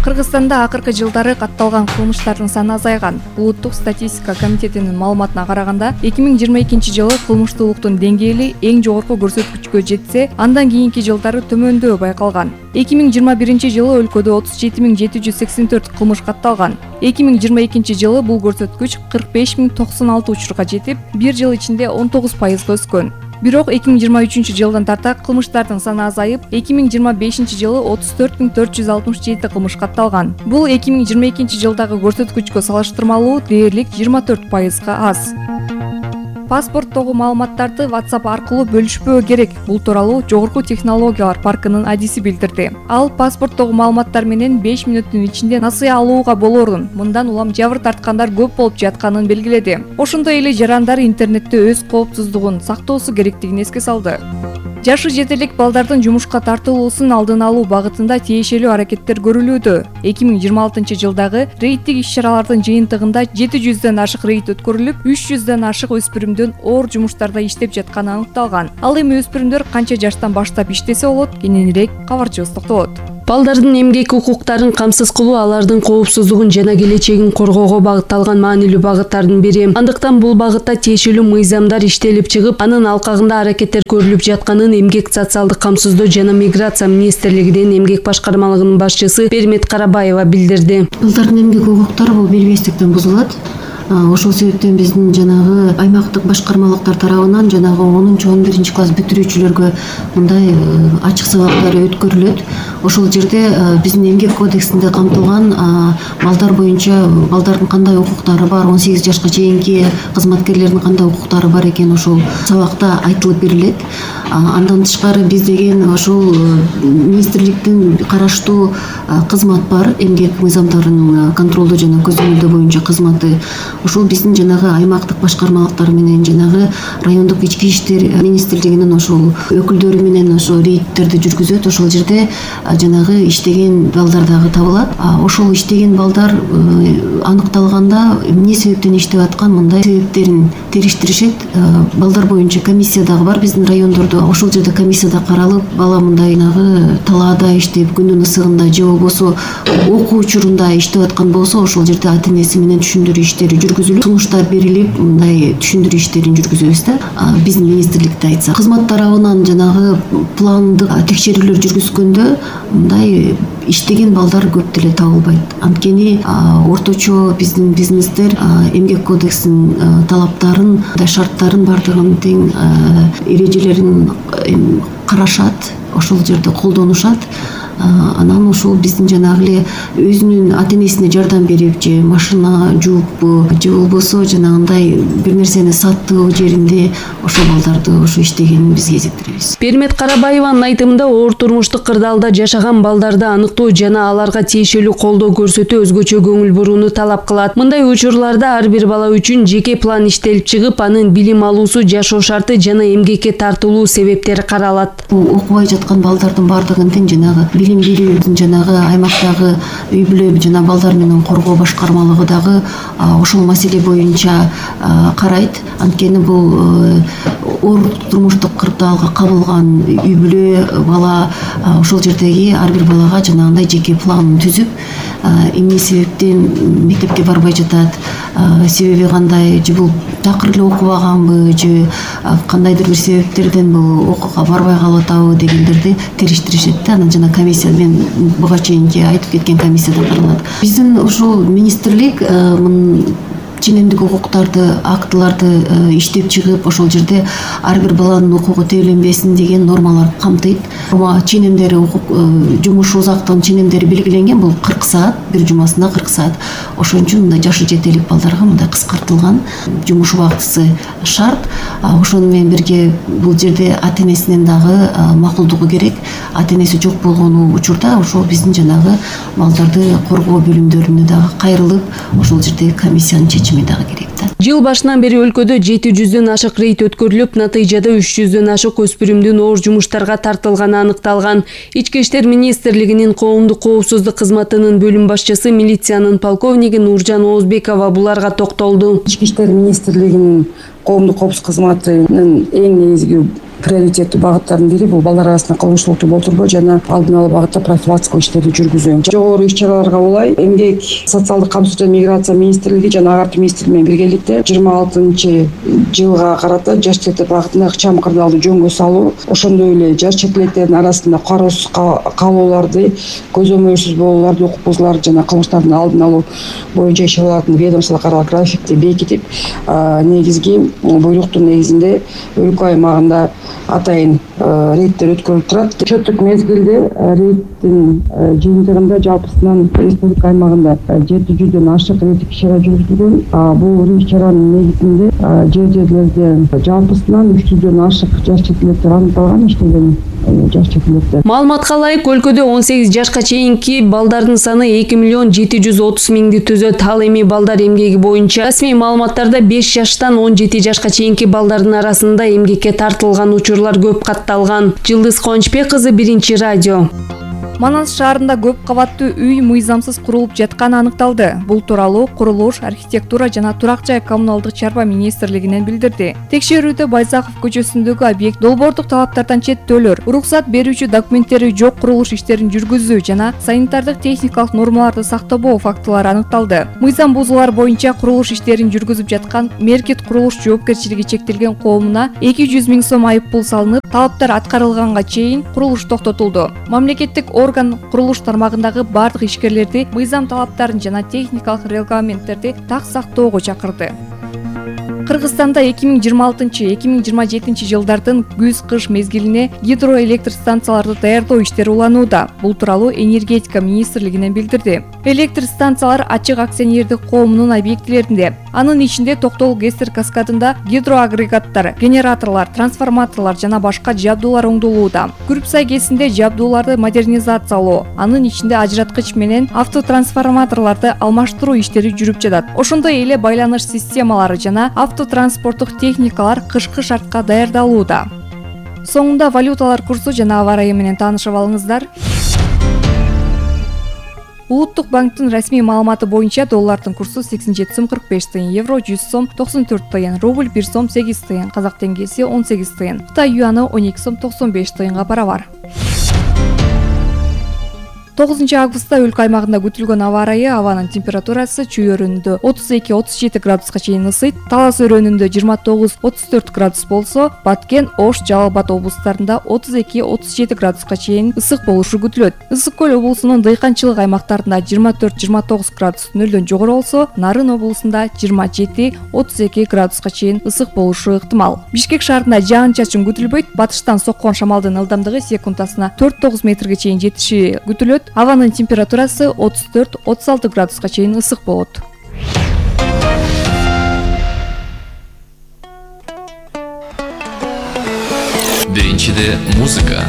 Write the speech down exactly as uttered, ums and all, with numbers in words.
Кыргызстанда акыркы жылдары катталган кылмыштардын саны азайган. Улуттук статистика комитетинин маалыматына караганда, эки миң жыйырма экинчи жылы кылмыштуулуктун деңгээли эң жогорку көрсөткүчкө жетсе, андан кийинки жылдары төмөндөө байкалган. эки миң жыйырма биринчи жылы өлкөдө отуз жети миң жети жүз сексен төрт кылмыш катталган. эки миң жыйырма экинчи жылы бул көрсөткүч кырк беш миң токсон алты учурга жетип, бир жыл ичинде он тогуз пайызга өскөн. Бирок эки миң жыйырма үчүнчү жылдан тарта кылмыштардын саны азайып, эки миң жыйырма бешинчи жылы отуз төрт миң төрт жүз алтымыш жети кылмыш катталган. Бул эки миң жыйырма экинчи жылдагы көрсөткүчкө салыштырмалуу дээрлик жыйырма төрт пайызга аз. Паспорттогу маалыматтарды WhatsApp аркылуу бөлүшпөө керек. Бул тууралуу Жогорку технологиялар паркынын адиси билдирди. Ал паспорттогу маалыматтар менен беш мүнөттүн ичинде насыя алууга болоорун, мындан улам жабыр тарткандар көп болуп жатканын белгиледи. Ошондой эле жарандар интернетте өз коопсуздугун сактоосу керектигин эске салды. Жашы жетелик балдардын жумушка тартылуусун алдын алуу багытында тиешелүү аракеттер көрүлүүдө. эки миң жыйырма алтынчы жылдагы рейдтик иш-чаралардын жыйынтыгында жети жүздөн ашык рейд өткөрүлүп, үч жүздөн ашык өспүрүмдүн оор жумуштарда иштеп жатканы аныкталган. Ал эми өспүрүмдөр канча жаштан баштап иштесе болот, кененирээк кабарчыбыз токтолот. Балдардын эмгек укуктарын камсыз кылуу алардын коопсуздугун жана келечегин коргоого багытталган маанилүү багыттардын бири. Андыктан бул багытта тиешелүү мыйзамдар иштелип чыгып, анын алкагында аракеттер көрүлүп жатканын Эмгек социалдык камсыздоо жана миграция министрлигинин эмгек башкармалыгынын башчысы Пермет Карабаева билдирди. Балдардын эмгек укуктары бул белбестиктен бузулат. Ошол себептен биздин жанагы аймактык башкармалыктар тарабынан жанагы онунчу он биринчи класс бүтүрүүчүлөргө мындай ачык сабактар өткөрүлөт. Ошол жерде биздин эмгек кодексинде камтылган балдар боюнча балдардын кандай укуктары бар, он сегиз жашка чейинки кызматкерлердин кандай укуктары бар экен ошол сабакта айтылып берилет. Андан тышкары биз деген ошол министрликтин караштуу кызмат бар, эмгек мыйзамдарын контролдоо жана көзөмөлдөө боюнча кызматы. Ошол биздин жанагы аймактык башкармалыктар менен жанагы райондук ички иштер министрлигинин ошол өкүлдөрү менен ошол рейдтерди жүргүзөт. Ошол жерде жанагы иштеген балдар дагы табылат. Ошол иштеген балдар аныкталганда эмне себептен иштеп аткан, мындай себептерин териштиришет. Балдар боюнча комиссия дагы бар биздин райондордо. Ошол жерде комиссияда каралып, бала мындай нагы талаада иштеп, күндүн ысыгында же болбосо окуу учурунда иштеп аткан болсо, ошол жерде ата-энеси менен түшүндүрүү иштери жүргүзүлүп, сунуштар берилип, мындай түшүндүрүү иштерин жүргүзөбүз да. Биздин министрликте айтсак, кызмат тарабынан жанагы пландык текшерүүлөр жүргүзгөндө мындай иштеген балдар көп деле табылбайт. Анткени орточо биздин бизнестер эмгек кодексинин талаптарын, шарттарын бардыгын тең эрежелерин карашат, ошол жерде колдонушат. Анан ошол биздин жанагы эле өзүнүн ата-энесине жардам берип, же машина жууппу, же болбосо жанагындай бир нерсени саттуу жеринде ошол балдарды ошо иштегенин биз кезиктиребиз. Пермет Карабаеванын айтымында, оор турмуштук кырдаалда жашаган балдарды аныктоо жана аларга тиешелүү колдоо көрсөтүү өзгөчө көңүл бурууну талап кылат. Мындай учурларда ар бир бала үчүн жеке план иштелип чыгып, анын билим алуусу, жашоо шарты жана эмгекке тартылуу себептери каралат. Окубай жаткан балдардын бардыгын тең жанагы билим берүү жанагы аймактагы үй бүлө жана балдар менен коргоо башкармалыгы дагы ошол маселе боюнча карайт. Анткени бул оор турмуштук кырдаалга кабылган үй бүлө бала ошол жердеги ар бир балага жанагындай жеке планын түзүп, эмне себептен мектепке барбай жатат, себеби кандай, же бул такыр эле окубаганбы, же кандайдыр бир себептерден бул окууга барбай калып атабы дегендерди териштиришет да. Анан жана комиссия мен буга чейинки айтып кеткен комиссияда каралат. Биздин ушул министрлик ченемдик укуктарды, актыларды иштеп чыгып, ошол жерде ар бир баланын укугу тебеленбесин деген нормаларды камтыйт. Ченемдери жумуш узактын ченемдери белгиленген, бул кырк саат, бир жумасына кырк саат. Ошон үчүн мындай жашы жетелик балдарга мындай кыскартылган жумуш убактысы шарт. Ошону менен бирге бул жерде ата-энесинин дагы макулдугу керек. Ата-энеси жок болгон учурда ошол биздин жанагы балдарды коргоо бөлүмдөрүнө дагы кайрылып, ошол жерде комиссиянын чечими дагы керек да. Жыл башынан бери өлкөдө жети жүздөн ашык рейд өткөрүлүп, натыйжада үч жүздөн ашык өспүрүмдүн оор жумуштарга тартылганы аныкталган. Ички иштер министрлигинин коомдук коопсуздук кызматынын бөлүм башчысы милициянын полковниги Нуржан Оозбекова буларга токтолду. Ички иштер министрлигинин коомдук коопсуздук кызматынын эң негизги приоритеттүү багыттардын бири бул балдар арасында кылмыштуулукту болтурбоо жана алдын алуу багытта профилактикалык иштерди жүргүзүү. Жогору иш-чараларга улай эмгек, социалдык камсыз жана миграция министрлиги жана агартуу министрлиги менен биргеликте жыйырма алтынчы жылга карата жаш чет элек багытында ыкчам кырдаалды жөнгө салуу, ошондой эле жаш чет электердин арасында кароосуз калууларды, көзөмөлсүз болууларды, укук бузууларды жана кылмыштардын алдын алуу боюнча иш-чаралардын ведомстволук аралык графикти бекитип, негизги буйруктун негизинде өлкө аймагында атайын рейдтер өткөрүлүп турат. Чөптүк мезгилде рейдтин жыйынтыгында жалпысынан республика аймагында жети жүздөн ашык рейдтик иш-чара жүргүзүлгөн. Бул иш-чаранын негизинде жер жерлерде жалпысынан үч жүздөн ашык жаш чет электер аныкталган, иштеген жаш чет электер. Маалыматка ылайык, өлкөдө он сегиз жашка чейинки балдардын саны эки миллион жети жүз отуз миңди түзөт. Ал эми балдар эмгеги боюнча расмий маалыматтарда беш жаштан он жети жашка чейинки балдардын арасында эмгекке тартылган учурлар көп катталган. Жылдыз Кончбек кызы, Биринчи радио. Манас шаарында көп кабаттуу үй мыйзамсыз курулуп жатканы аныкталды. Бул тууралуу Курулуш, архитектура жана турак жай коммуналдык чарба министрлигинен билдирди. Текшерүүдө Байзаков көчөсүндөгү объект долбоордук талаптардан четтөөлөр, уруксат берүүчү документтери жок курулуш иштерин жүргүзүү жана санитардык техникалык нормаларды сактабоо фактылары аныкталды. Мыйзам бузуулар боюнча курулуш иштерин жүргүзүп жаткан Меркит курулуш жоопкерчилиги чектелген коомуна эки жүз миң сом айып пул салынып, талаптар аткарылганга чейин курулуш токтотулду. Мамлекеттик орган курулуш тармагындагы бардык ишкерлерди мыйзам талаптарын жана техникалык регламенттерди так сактоого чакырды. Кыргызстанда эки миң жыйырма алтынчы — эки миң жыйырма жетинчи жылдардын күз-кыш мезгилине гидроэлектр станцияларды даярдоо иштери уланууда. Бул тууралуу энергетика министрлигинен билдирди. Электр станциялар ачык акционердик коомунун объектилеринде, анын ичинде Токтол ГЭС каскадында гидроагрегаттар, генераторлор, трансформаторлор жана башка жабдуулар оңдолууда. Күрүпсай ГЭСинде жабдууларды модернизациялоо, анын ичинде ажыраткыч менен автотрансформаторлорду алмаштыруу иштери жүрүп жатат. Ошондой эле байланыш системалары жана автотранспорттук техникалар кышкы шартка даярдалууда. Соңунда валюталар курсу жана аба ырайы менен таанышып алыңыздар. Улуттук банктын расмий маалыматы боюнча доллардын курсу сексен жети сом кырк беш тыйын, евро жүз сом токсон төрт тыйын, рубль бир сом сегиз тыйын, казак теңгеси он сегиз тыйын, Кытай юаны он эки сом токсон беш тыйынга барабар. тогузунчу августта өлкө аймагында күтүлгөн аба ырайы: абанын температурасы Чүй өрөөнүндө отуз эки — отуз жети градуска чейин ысыйт, Талас өрөөнүндө жыйырма тогуз — отуз төрт градус болсо, Баткен, Ош, Жалал Абад облустарында отуз эки — отуз жети градуска чейин ысык болушу күтүлөт. Ысык көл облусунун дыйканчылык аймактарында жыйырма төрт — жыйырма тогуз градус нөлдөн жогору болсо, Нарын облусунда жыйырма жети — отуз эки градуска чейин ысык болушу ыктымал. Бишкек шаарында жаан-чачын күтүлбөйт, батыштан соккон шамалдын ылдамдыгы секундасына төрт — тогуз метрге чейин жетиши күтүлөт. Абанын температурасы отуз төрт — отуз алты градуска чейин ысык болот. Биринчиде музыка.